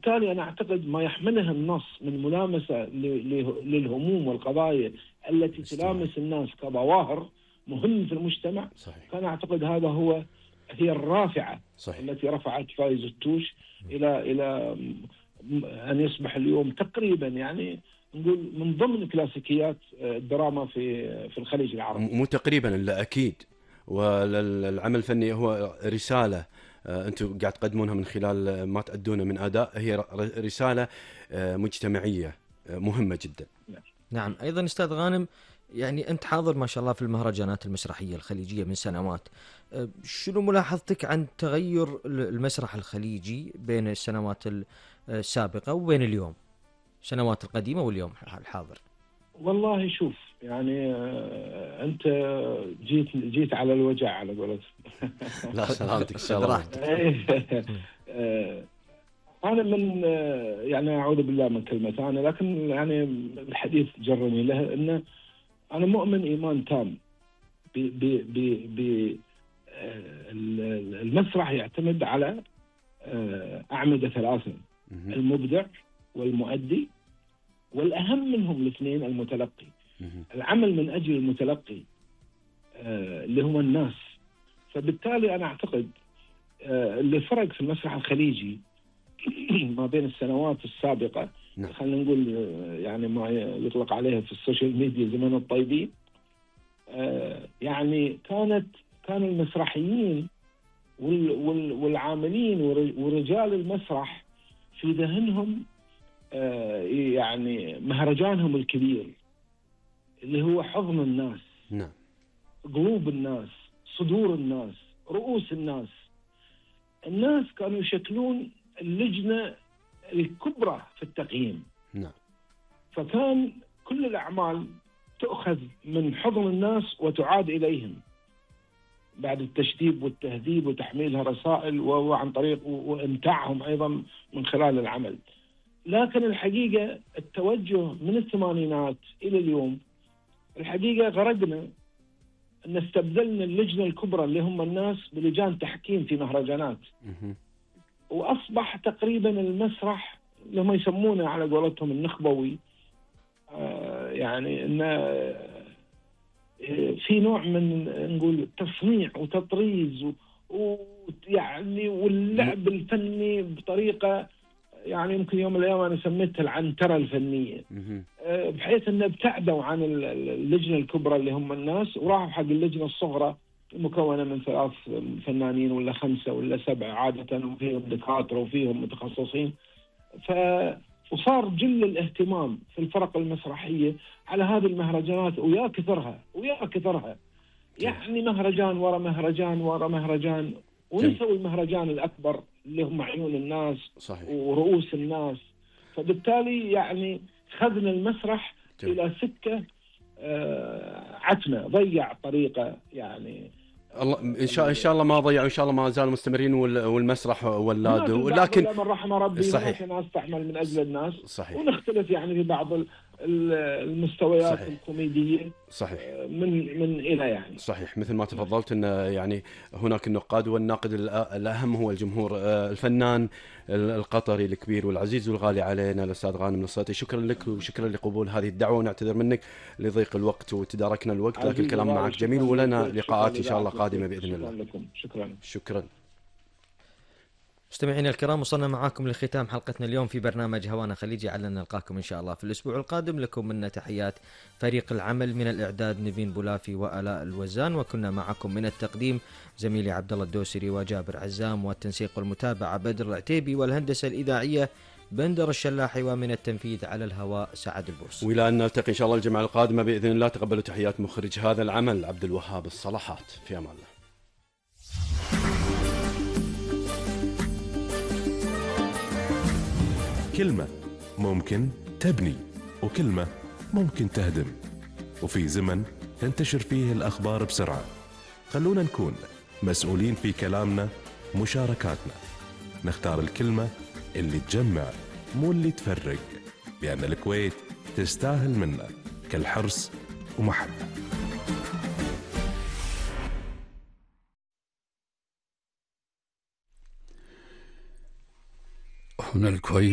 بالتالي أنا أعتقد ما يحمله النص من ملامسة للهموم والقضايا التي تلامس الناس كظواهر مهم في المجتمع. صحيح. فأنا أعتقد هي الرافعة. صحيح. التي رفعت فايز التوش إلى أن يصبح اليوم تقريبا يعني نقول من ضمن كلاسيكيات الدراما في الخليج العربي. مو تقريبا إلا أكيد. والعمل الفني هو رسالة أنتم قاعد تقدمونها من خلال ما تأدونه من أداء، هي رسالة مجتمعية مهمة جدا. نعم. أيضا أستاذ غانم، يعني أنت حاضر ما شاء الله في المهرجانات المسرحية الخليجية من سنوات، شنو ملاحظتك عن تغير المسرح الخليجي بين السنوات السابقة وبين اليوم، السنوات القديمة واليوم الحاضر؟ والله شوف، يعني أنت جيت على الوجع على قولتك. لا سلامتك إن شاء الله. أنا من يعني أعوذ بالله من كلمة أنا، لكن يعني الحديث جرني له أن أنا مؤمن إيمان تام المسرح يعتمد على أعمدة ثلاثة: المبدع والمؤدي، والأهم منهم الاثنين المتلقي. العمل من أجل المتلقي اللي هم الناس. فبالتالي أنا أعتقد اللي فرق في المسرح الخليجي ما بين السنوات السابقة، خلينا نقول يعني ما يطلق عليها في السوشيال ميديا زمان الطيبين، يعني كان المسرحيين والعاملين ورجال المسرح في ذهنهم يعني مهرجانهم الكبير اللي هو حضن الناس، نعم، قلوب الناس، صدور الناس، رؤوس الناس. الناس كانوا يشكلون اللجنة الكبرى في التقييم. نعم. فكان كل الأعمال تؤخذ من حضن الناس وتعاد إليهم بعد التشديد والتهذيب وتحميلها رسائل وعن طريق وإمتاعهم أيضا من خلال العمل. لكن الحقيقة التوجه من الثمانينات إلى اليوم الحقيقة غرقنا أن استبدلنا اللجنة الكبرى اللي هم الناس بلجان تحكيم في مهرجانات. وأصبح تقريبا المسرح اللي هم يسمونه على قولتهم النخبوي، يعني أن في نوع من نقول تصنيع وتطريز ويعني واللعب الفني بطريقة يعني يمكن يوم من الأيام أنا سميتها العنترة الفنية، بحيث أن ابتعدوا عن اللجنة الكبرى اللي هم الناس وراحوا حق اللجنة الصغرى المكونة من 3 فنانين ولا 5 ولا 7 عادة، وفيهم دكاترة وفيهم متخصصين. وصار جل الاهتمام في الفرق المسرحية على هذه المهرجانات ويا كثرها يعني مهرجان ورا مهرجان ورا مهرجان، ونسوي المهرجان الأكبر اللي هم عيون الناس. صحيح. ورؤوس الناس. فبالتالي يعني خذنا المسرح إلى سكة عتمة، ضيع طريقة يعني. الله إن شاء الله ما ضيعوا، إن شاء الله ما زالوا مستمرين والمسرح ولادوا، لكن من رحم ربي صحيح ناس تعمل من أجل الناس. صحيح. ونختلف يعني في بعض المستويات صحيح. الكوميدية صحيح من إلى يعني. صحيح مثل ما تفضلت أن يعني هناك النقاد، والناقد الأهم هو الجمهور. الفنان القطري الكبير والعزيز والغالي علينا الأستاذ غانم نصيتي، شكرا لك وشكرا لقبول هذه الدعوة، ونعتذر منك لضيق الوقت وتداركنا الوقت، لكن الكلام معك جميل ولنا لقاءات إن شاء الله قادمة بإذن الله. شكرا. مستمعينا الكرام، وصلنا معاكم لختام حلقتنا اليوم في برنامج هوانا خليجي. علنا نلقاكم إن شاء الله في الأسبوع القادم. لكم منا تحيات فريق العمل، من الإعداد نيفين بولافي وآلاء الوزان، وكنا معكم من التقديم زميلي عبد الله الدوسري وجابر عزام، والتنسيق والمتابعة بدر العتيبي، والهندسة الإذاعية بندر الشلاحي، ومن التنفيذ على الهواء سعد البورس. وإلى أن نلتقي إن شاء الله الجمعة القادمة بإذن الله. تقبلوا تحيات مخرج هذا العمل عبد الوهاب الصلاحات. في أمان الله. كلمة ممكن تبني، وكلمة ممكن تهدم، وفي زمن تنتشر فيه الأخبار بسرعة. خلونا نكون مسؤولين في كلامنا، مشاركاتنا، نختار الكلمة اللي تجمع مو اللي تفرق، لأن الكويت تستاهل منا كل حرص ومحبة. هنا الكويت.